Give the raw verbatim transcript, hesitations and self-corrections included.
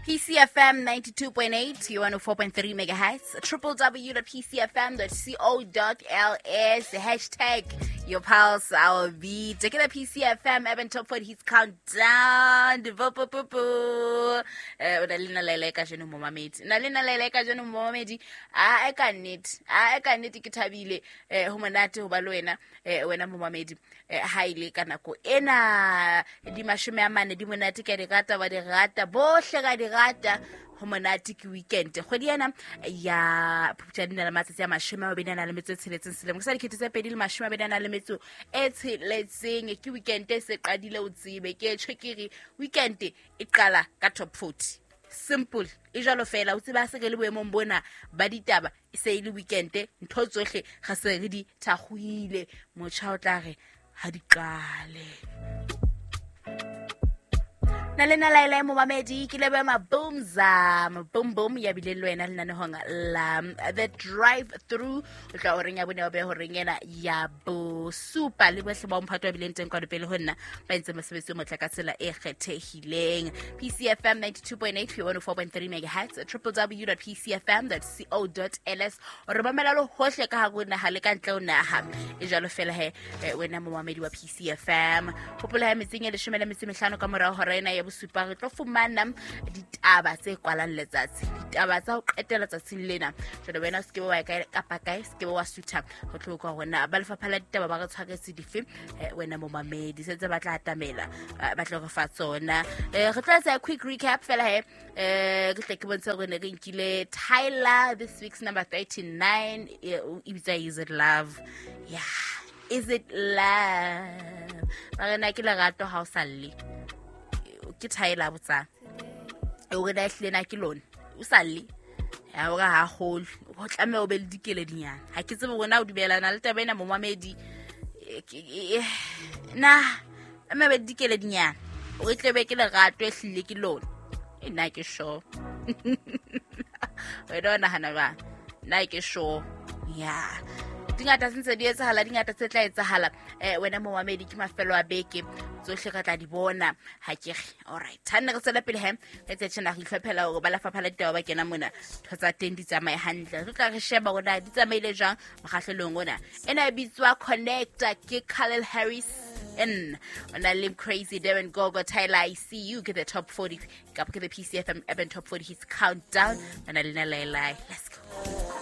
P C F M ninety-two point eight, one oh four point three megahertz, triple w dot p c f m dot co dot l s, hashtag your pulse, our beat. Take it at P C F M, Urban Top forty Hits Countdown. Bo, bo, bo, bo. Eh, o na le nna Laila ka jeno momamedi. Na le nna Laila ka jeno momamedi. A e ka nnete. A e ka nnete ke thabile, eh, ho monate ho ba le wena, eh, wena momamedi. Eh, ha ile ka nako ena, di mashome a mane, di monate ke a di rata, wa di rata, bohle ka di rata. Ho monate ke weekend. Kgwedi ena ya Phupjane na le matsatsi a mashome a mabedi a nang le metso e tsheletseng selemo. Ke sa dikete tse pedi le mashome a mabedi a nang le metso e tsheletseng. Ke weekend e se qadile o tsebe. Ke tjho ke re weekend e qala ka top forty. Simple. E jwalo fela, o tseba se re le boemong bona ba ditaba, e se e le weekend, ntho tsohle ga se re di thakgoile. Motjha o tla re ha di qale. Na le nna Laila momamedi, ke leboha Mabumza, Maboom Boom ya bile le wena lenanehong la The Drive Through. O tla o reng ya bone, o be horeng ena ya bosupa. Le bohle ba mphato ba bileng teng kwano pele ho nna, ba entse mosebetsi o motle ka tsela e kgethehileng. P C F M ninety-two point eight, one oh four point three megahertz, triple w dot p c f m dot co dot l s. O re mamela le hohle ka hare ho naha le ka ntle ho naha. E jwalo fela he, eh, wena momamedi wa P C F M. Hopola he metseng e leshome le metso e mehlano ka morao hora ena ya bosupa re tlo fumana ditaba tse kwalang letsatsi, ditaba tsa ho qetela tsatsing lena. Jwale wena o se ke wa ya kae kapa kae, se ke wa sutha ho tlo utlwa hore na ba lefapha la ditaba ba re tshwaretse dife, eh, wena momamedi. Sentse ba tla atamela, eh, ba tlo re fa tsona. Eh, re tlo etsa quick recap fela he, eh, ke tle ke bontshe hore ne re nkile Tyler this week's number thirty-nine, eh, o e bitsa Is It Love? Yeah, Is It Love? Ba re na ke lerato ha o sa lle. Ke Tyler botsang. O re na ehlile na ke lona. O sa lle. Ya hore ha kgolwe. O tlameha o be le dikeledinyana. Ha ke tsebe hore na o dumellana le taba ena momamedi. Eh, ke, eh, na, tlameha o be le dikeledinyana. O re tle be ke lerato ehlile ke lona. E nna ke sure. Wena o nahana jwang? Nna ke sure. Yeah. Dingata tse ntse di etsahala, dingata tse tla etsahala. Eh, wena momamedi, ke mafelo a beke, tsohle re tla di bona. Ha ke re, all right. Ha nne re tswela pele he, re tse tjena re itlhophela hore ba lefapha la ditaba ba kena mona, ntho tsa teng di tsamaye hantle. Re tla re sheba hore na di tsamaile jwang mokgahlelong ona. Ena e bitswa Connect ke Khalil Harris N. Ona le Crazy Darren Gogo Tyler I See You ke the top forty kapa ke the P C F M Urban Top forty Hits Countdown. Ona le nna Laila. Let's go.